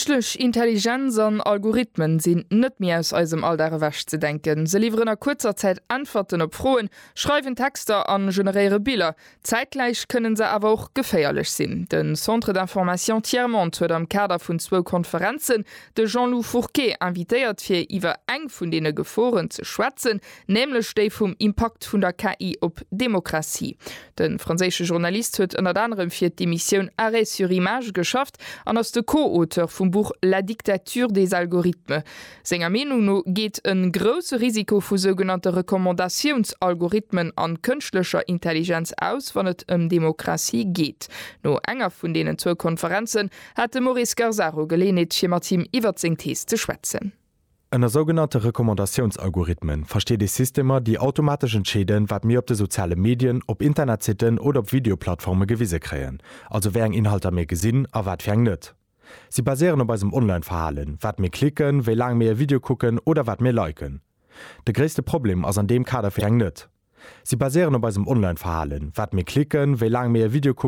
Kënschtlech Intelligenz an Algorithmen sinn net méi aus eisem Alldag ewech ze denken. Se liwweren a kuerzer Zäit Äntwerten op Froen, schreiwen Texter an generéiere Biller. Zäitgläich kënnen se awer och geféierlech sinn. De Centre d'information Tiers-Monde huet am Kader vun zwou Konferenzen de Jean-Loup Fourquet invitéiert fir iwwer eng vun deene Geforen ze schwätzen, nämlech déi vum Impakt vun der KI op d'Demokratie. De franséische Journalist huet ënnert anerem fir d'Emissioun Arrêt sur images geschafft an ass de Co-Auteur vum Buch La dictature des algorithmes. Senger Meenung no geet e grousse Risiko vu sougenannte Recommandatiounsalgorithmen an kënschtlecher Intelligenz aus, wann et ëm Demokratie geet. No enger vun deenen zwou Konferenzen hat de Maurice Garzaro Geleeënheet fir mat him iwwert seng Thees ze schwätzen. Ënner sougenannte Recommandatiounsalgorithmen versteet ee Systemer, déi automatesch entscheeden, wat mir op de soziale Medien, op Internetsitten oder op Videoplattforme gewise kréien, also wéi eng Inhalter mir gesinn a wat fir eng net. Si baséieren op eisem Online-Verhalen, wat mir klicken, wéi laang mir e Video kucken oder wat mir liken. De gréisste Problem ass an deem Kader fir eng net. Si baséieren op eisem Online-Verhalen, wat mir klicken, wéi laang mir e Video kucken.